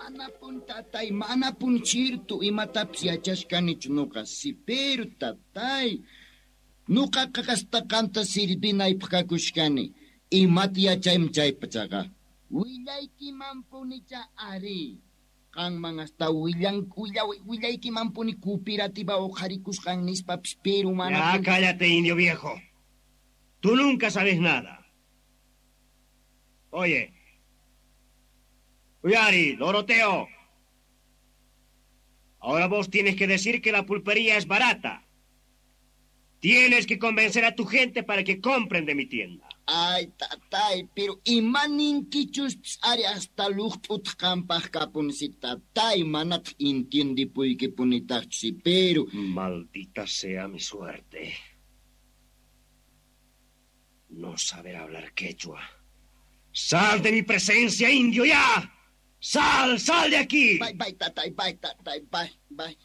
Manapun tatay, manapun chirtu imatapis yachashkanichu nuqa si, pero tatay, nuqaqa hasta qamta sirvinaypaq kakushkani. Imata yachayman chaypachaqa. Willaykimanpunicha ari. Qanman hasta willan willa willaykimanpuni cooperativa uqharikusqan nispapis, pero Ya, manapun. Cállate, indio viejo. Tú nunca sabes nada. Oye. Uyari, Doroteo. Ahora vos tienes que decir que la pulpería es barata. Tienes que convencer a tu gente para que compren de mi tienda. Ay, tatay, pero imaninkichuspis ari hasta luqt'utaq qampaq kapun si tatay, manataq entiendipuykipunitaqchu si, pero. Maldita sea mi suerte. No saber hablar quechua. ¡Sal de mi presencia, indio, ya! ¡Sal, sal de aquí! Bye, bye, tatay, bye, tatay, bye, bye.